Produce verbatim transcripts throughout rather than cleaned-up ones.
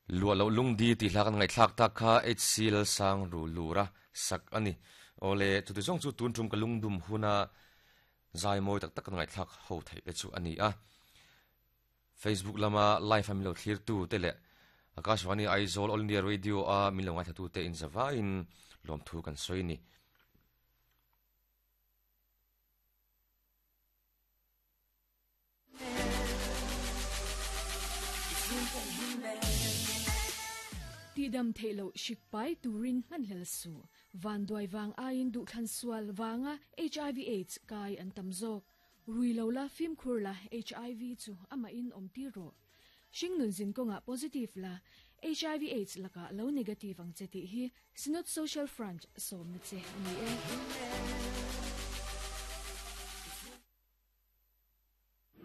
Lua lo lungdi ti hla kan ngai thlak tak kha H C L sang ru lura sak ani ole chu ti zong chu tun tum ka lungdum huna zai moi tak tak kan ngai thlak ho thei te chu ani a Facebook lama live ami lo thlir tu te le Akashvani Aizawl All India Radio a min lo ngai thatu te in zawa in lom thu kan soi ni. Ti dam theilo shikpai turin man hlel su van duai wang ain du thlan sual wanga H I V AIDS kai an tamzok rui lo la phim khur la H I V chu ama in om ti ro shingnun zin konga positive la H I V AIDS laka lo negative ang cheti hi Synod Social Front som na che ani e.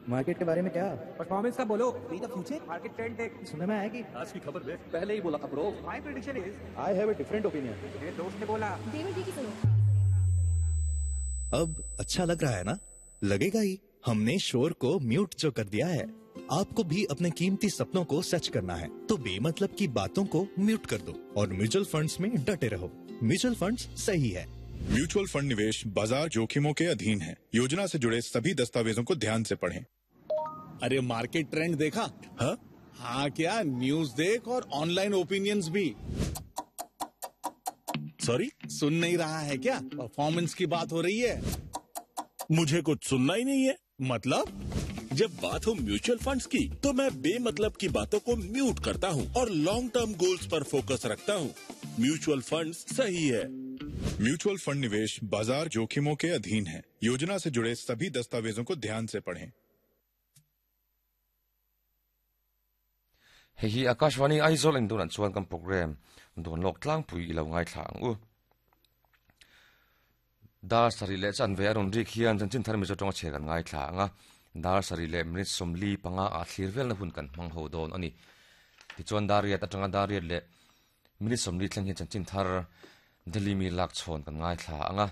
Market के बारे में क्या परफॉर्मेंस का बोलो the future market trend देख सुनने में आया कि आज की खबर देख पहले ही बोला था bro. My prediction is I have a different opinion. मेरे दोस्त ने बोला डेविड की सुनो. अब अच्छा लग रहा है ना? लगेगा ही, हमने शोर को म्यूट जो कर दिया है. आपको भी अपने कीमती सपनों को सच करना है तो बेमतलब की बातों को म्यूट कर दो और म्यूचुअल फंड्स में डटे रहो. म्यूचुअल फंड्स सही है. म्यूचुअल फंड निवेश बाजार जोखिमों के अधीन है. योजना से जुड़े सभी दस्तावेजों को ध्यान से पढ़ें. अरे मार्केट ट्रेंड देखा? हाँ हाँ क्या न्यूज देख और ऑनलाइन ओपिनियंस भी. सॉरी सुन नहीं रहा है क्या? परफॉर्मेंस की बात हो रही है. मुझे कुछ सुनना ही नहीं है. मतलब जब बात हो म्यूचुअल फंड्स की तो मैं बेमतलब की बातों को म्यूट करता हूँ और long term goals पर फोकस रखता हूँ. म्यूचुअल फंड्स सही है. म्यूचुअल फंड निवेश बाजार जोखिमों के अधीन है. योजना से जुड़े सभी दस्तावेजों को ध्यान से पढ़ें. Hei hi Akashvani Aizawl in dunan chuan kan program don lok tlang pui ilo ngai thla ang u. Dar sari le chan ve aron rik hian chan chin thar mi zo tonga che kan ngai thla anga dar sari le minute somli panga a thlir vel na hun kan mang ho don ani. Ti chuan dar riat atanga dar riat le minute somli thleng hian chan chin thar Delhi mi lak chhon kan ngai thla anga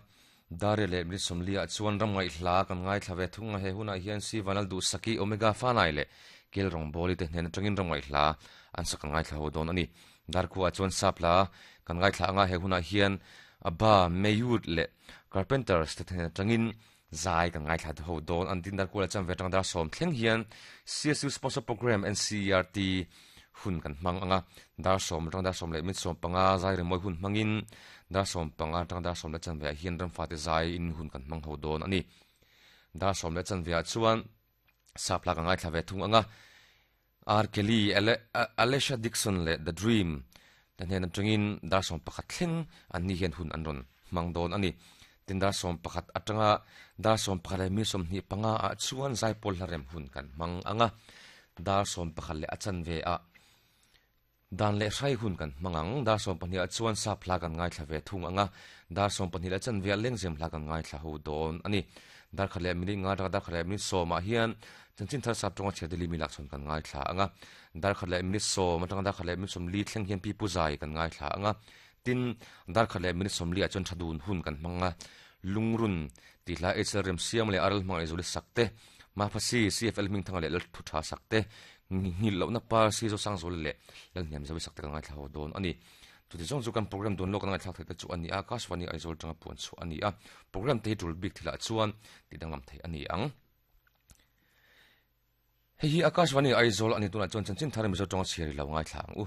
dar riat le minute somli a chuan ram ngai hla kan ngai thla ve thunga he huna hian si vanal du saki omega fanai le kel rong boli te hnen atangin ram ngai hla an sak ngai thla ho don ani. Dar khu a chuan sapla kan ngai thla anga he huna hian aba meyut le carpenters te hnen atangin zai kan ngai thla ho don an tin dar khu la cham ve tang dar som thleng hian C S U sponsor program N C E R T hun kan mang anga dar som tang dar som le min som panga zai re moi hun mangin dar som panga tang dar som le chan ve hian ram fa te zai in hun kan mang ho don ani. Dar som le chan ve chuan sapla ka ngai thla ve thung anga R Kelly Alesha Dixon le The Dream tan hen atangin dar som pakhat thleng an ni hian hun an ron mang don ani. Tin dar som pakhat atanga dar som pakhat le mi som ni panga a chuan zaipol hlarem hun kan mang anga dar som pakhat le achan ve a dan le hrai hun kan mangang dar som pahnih a chuan sapla kan ngai thla ve thung anga dar som pahnih le chan ve lengzem hla kan ngai thla ho don ani. Dar khat le minute nga dar khat le minute sawm ah hian chanchin thar sap tonga chhe Delhi mi lak chon kan ngai thla anga dar khat le minute sawm atanga dar khat le minute sawm li thleng hian pi puzai kan ngai thla anga tin dar khat le minute sawm li a chuan thadun hun kan hmanga lungrun ti hla H L rem siam le aral hmang ezuli sakte ma phasi C F L ming thanga le lal thu tha sakte ngil lo na par si zo sang zol le lal hniam zawi sakte kan ngai thla ho don ani. Chu ti zong chu kan program don lo kan ngai thlak thei te chu ani a Akashvani Aizawl tanga puan chu ani a program te tul bik thila chuan ti danglam thei ani ang. Hei hi Akashvani Aizawl ani tuna chuan chanchin thar mi zo tonga chheri lo ngai thla ang u.